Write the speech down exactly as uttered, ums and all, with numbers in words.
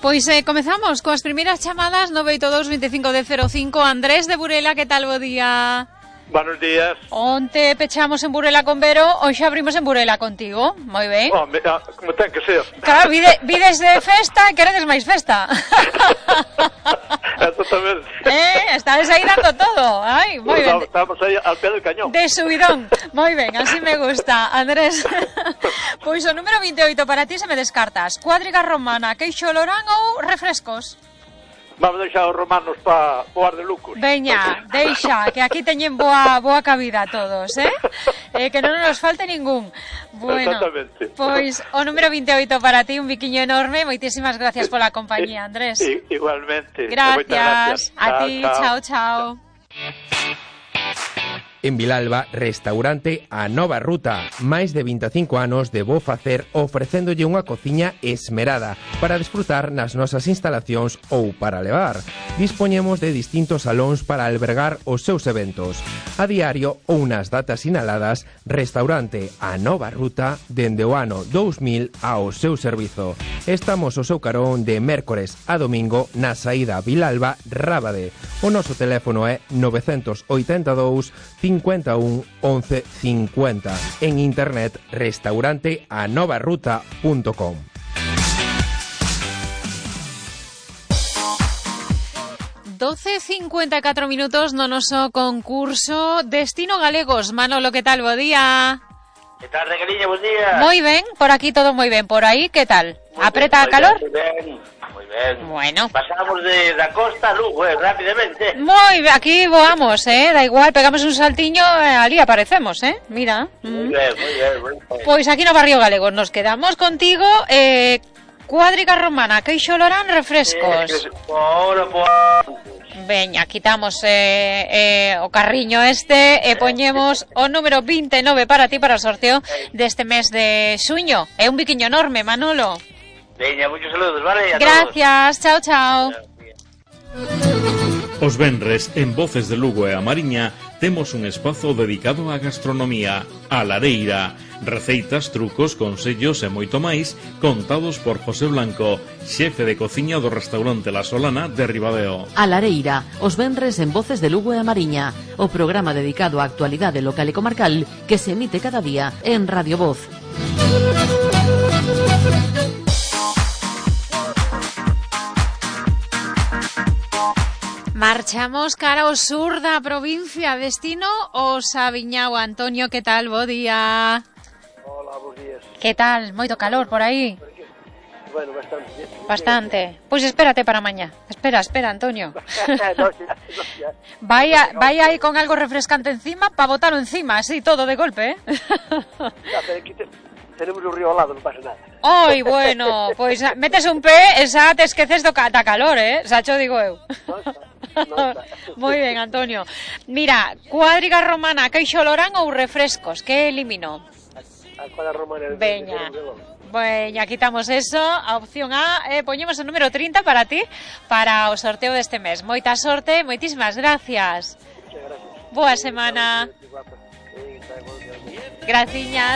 Pois eh, comezamos coas primeiras chamadas nove oito dous veinticinco de cero cinco. Andrés de Burela, que tal, bo día? Buenos días. Onte pechamos en Burela con Vero, hoxe abrimos en Burela contigo. Moi ben. Oh, me, ah, como ten que ser. Claro, vide, vides de festa e queredes máis festa. Exactamente. Eh, estades aí dando todo. Ai, moi ben. Estamos aí al pé del cañón. De subidón. Moi ben, así me gusta. Andrés, pois o número veintioito para ti se me descartas. Cuadriga romana, queixo lorán ou refrescos? Vamos deixar os romanos para o ar de lucos. Veña, deixa, que aquí teñen boa boa cabida todos, eh? eh que non nos falte ningún. Bueno, exactamente. Pois o número veintioito para ti, un biquiño enorme. Moitísimas gracias pola compañía, Andrés. I, igualmente. Gracias. gracias. A ti, chao, chao. En Vilalba, restaurante A Nova Ruta. Máis de veinticinco anos de bo facer ofrecéndolle unha cociña esmerada para desfrutar nas nosas instalacións ou para levar. Dispoñemos de distintos salóns para albergar os seus eventos. A diario ou nas datas sinaladas, restaurante A Nova Ruta dende o ano dous mil ao seu servizo. Estamos ao seu carón de mércores a domingo na saída Vilalba Rábade. O noso teléfono é nove oito dous, cincuenta e un, once cincuenta. En internet, restaurante a nova ruta punto com. doce cincuenta e catro minutos no noso concurso Destino Galegos. Manolo, que tal, bo día? Que tal, Regueliña, bos días? Moi ben, por aquí todo moi ben. Por aí, que tal? Muy Apreta bien, a calor? Moi ben, moi ben. Bueno. Pasamos de da costa a Lugo, eh, rápidamente. Moi ben, aquí voamos, eh, da igual, pegamos un saltiño e ali aparecemos, eh, mira. Moi ben, moi ben, moi ben. Pois aquí no Barrio Galegos nos quedamos contigo, eh, cuadriga romana, queixo lorán, refrescos. Eh, por, por... Veña, quitamos eh, eh, o carriño este e poñemos o número veintinueve para ti para o sorteo deste mes de xuño. É un biquiño enorme, Manolo. Veña, muchos saludos, vale? A Gracias, chao, chao. Os venres, en Voces de Lugo e a Mariña, temos un espazo dedicado á gastronomía, a lareira. Receitas, trucos, consellos e moito máis, contados por José Blanco, xefe de cociña do restaurante La Solana de Ribadeo. A lareira, os venres en Voces de Lugo e a Mariña, o programa dedicado á actualidade local e comarcal que se emite cada día en Radio Voz. Marchamos cara ao sur da provincia, destino o Sabiñao. Antonio, que tal, bo día? Hola, bons días. Que tal, moito calor por aí? Bueno, bastante. Bastante. Pois pues espérate para mañá. Espera, espera, Antonio. no, ya, no, ya. Vai, a, vai aí con algo refrescante encima para botarlo encima, así, todo de golpe, eh? Ya, pero aquí te, tenemos un río al lado, non pasa nada. Oi, bueno, pois pues, metes un pé e xa te esqueces do da calor, eh? Xa cho digo eu. No está, no está. Moi ben, Antonio. Mira, cuadriga romana, queixo lorán ou refrescos, que elimino? A cuadra romana. Veña. Veña, quitamos eso. A opción A, eh, poñemos o número trinta para ti, para o sorteo deste mes. Moita sorte, moitísimas gracias. Muchas gracias. Boa semana. Graciñas.